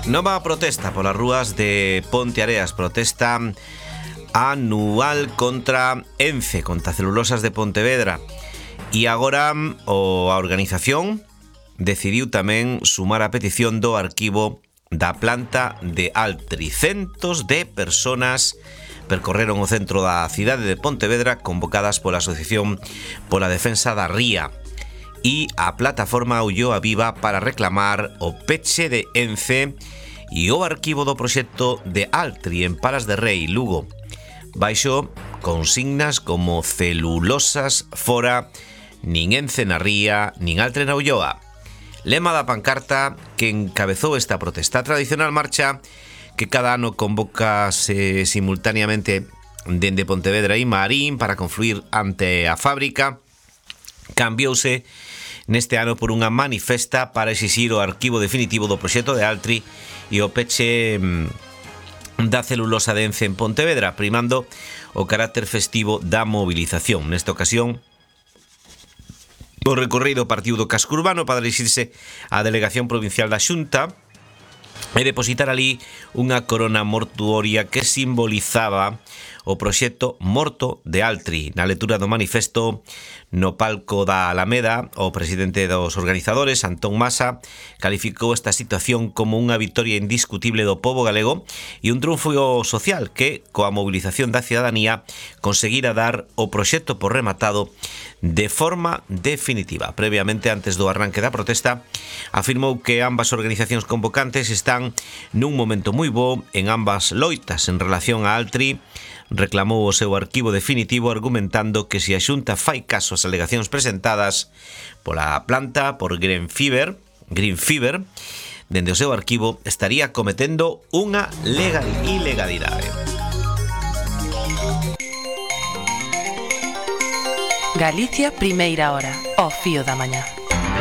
Nova protesta polas rúas de Ponteareas. Protesta anual contra Ence, contra Celulosas de Pontevedra. E agora a organización decidiu tamén sumar a petición do arquivo da planta de Altri. Centos de personas percorreron o centro da cidade de Pontevedra convocadas pola Asociación pola Defensa da Ría e a plataforma Ulloa Viva para reclamar o peche de Ence e o arquivo do proxecto de Altri en Palas de Rei, Lugo, baixo consignas como celulosas fora, nin Ence na Ría, nin Altri na Ulloa. Lema da pancarta que encabezou esta protesta. A tradicional marcha que cada ano convócase simultaneamente dende Pontevedra e Marín para confluir ante a fábrica cambiouse neste ano por unha manifesta para exixir o arquivo definitivo do proxecto de Altri e o peche da celulosa de Ence en Pontevedra, primando o carácter festivo da movilización. Nesta ocasión, o recorrido partiu do casco urbano para dirixirse á delegación provincial da Xunta e depositar ali unha corona mortuoria que simbolizaba o proxecto morto de Altri. Na lectura do manifesto no palco da Alameda, o presidente dos organizadores, Antón Masa, calificou esta situación como unha victoria indiscutible do pobo galego e un triunfo social que, coa movilización da cidadanía, conseguira dar o proxecto por rematado de forma definitiva. Previamente, antes do arranque da protesta, afirmou que ambas organizacións convocantes están nun momento moi bo en ambas loitas. En relación a Altri, reclamou o seu arquivo definitivo argumentando que se a Xunta fai caso ás alegacións presentadas pola planta por Green Fiber, dende o seu arquivo estaría cometendo unha ilegalidade. Galicia, primeira hora, ao fío da mañá.